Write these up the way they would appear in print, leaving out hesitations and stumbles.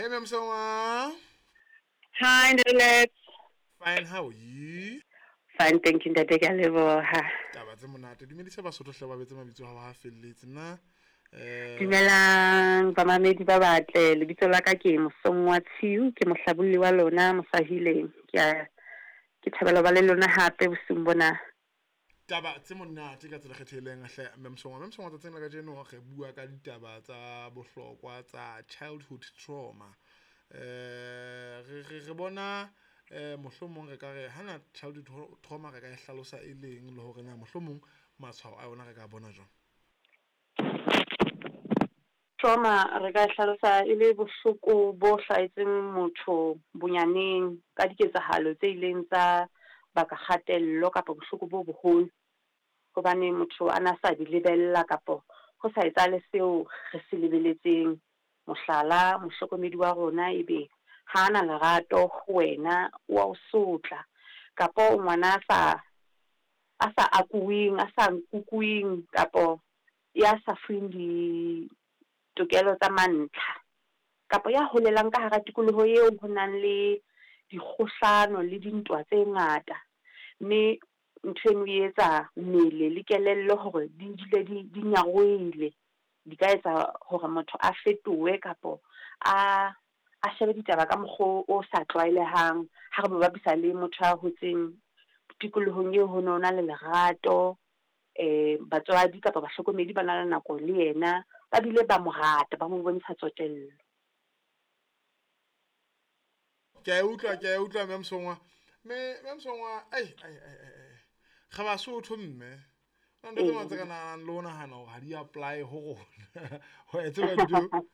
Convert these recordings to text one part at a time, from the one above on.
Hey, Msongwa. Hi, Ndelet. Fine, how are you? Fine, thank you, Ntate, ke a leboha. Taba tse monate. Dumedisa Basotho hle ba betse mabitso a hao ha felletse na. Eh, Dumelang bamamedi ba batle. Lebitso la ka ke Mosongwa Tshiu, ke mohlabolli wa lona Mosahileng. Ke a ke thabela ho ba le lona hape bosiung bona. Taba tse monate ka tsela kgethehileng hle Mme Mosongwa. Mme Mosongwa, tsatsing la kajeno re bua ka ditaba tsa bohlokwa tsa childhood trauma. Re bona mohlomong re ka re hana childhood trauma re ka e hlalosa e leng le hore na mohlomong matshwao a yona re ka bona jwang? Trauma re ka e hlalosa e le bohloko bo hlahetseng motho bonyaneng ka diketsahalo tse ileng tsa baka kgatello kapa bohloko bo boholo. Hobane motho a na sa di lebella kapo ho sa etsahale seo re se lebeletseng. Mohlala, mohlokomedi wa rona ebe ha na lerato ho wena, wa o sotla, kapo o ngwana a sa akuweng, a sa nkukuweng, kapo ya sa fuweng ditokelo tsa mantlha, kapo ya holelang ka hara tikoloho eo ho nang le dikgohlano le dintwa tse ngata. Mme ntho eno e etsa mmele le kelello hore di dule di nyarohile. Di ka etsa hore motho a fetohe kapo a shebe ditaba ka mokgwa o sa tlwaelehang ha re mo bapisa le motho a hotseng tikolohong eo ho no na le lerato, batswadi kapa bahlokomedi ba na le nako le yena, ba bile ba mo rata, ba mo bontsha tsotello. Ke a utlwa, ke a utlwa, Mme Mosongwa. Mme Mosongwa, ai ai ai ai. Re Basotho mme. Na ntho tse ngata tse ka nahanang le ho nahana hore ha di apply ho rona. Ho e tseba ntho.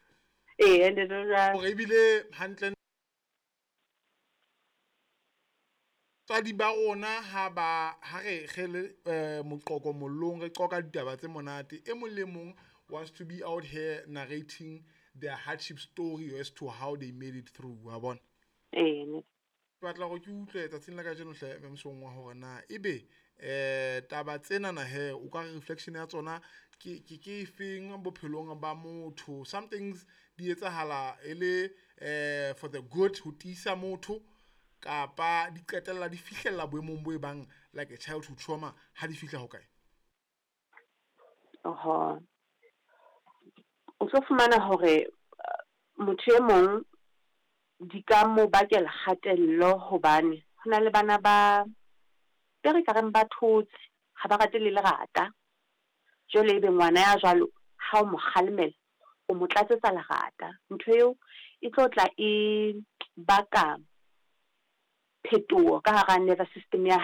Ee, ntate jwang? Hore ebile hantle tswadi ba rona ha ba ha re re le moqoqo mollong, re qoqa ditaba tse monate, e mong le mong wants to be out here narrating their hardship story as to how they made it through, wa bona. Ee. Ke batla hore ke utlwe tsatsing la kajeno hle Mme Mosongwa hore na ebe taba tsenana he o ka re reflection ya tsona ke ke efeng bophelong ba motho. Some things di etsahala e le for the good, ho tiisa motho, kapa di qetella di fihlella boemong bo e bang like a childhood trauma ha di fihla ho kae? Oho. O tlo fumana hore motho e mong di ka mo bakela kgatello hobane ho na le bana ba be re ka reng ba thotse, ha ba rate le lerata. Jwale ebe ngwana ya jwalo ha o mo kgalemela, o mo tlatsetsa lerata. Ntho eo e tlo tla e baka phetoho ka hara nervous system ya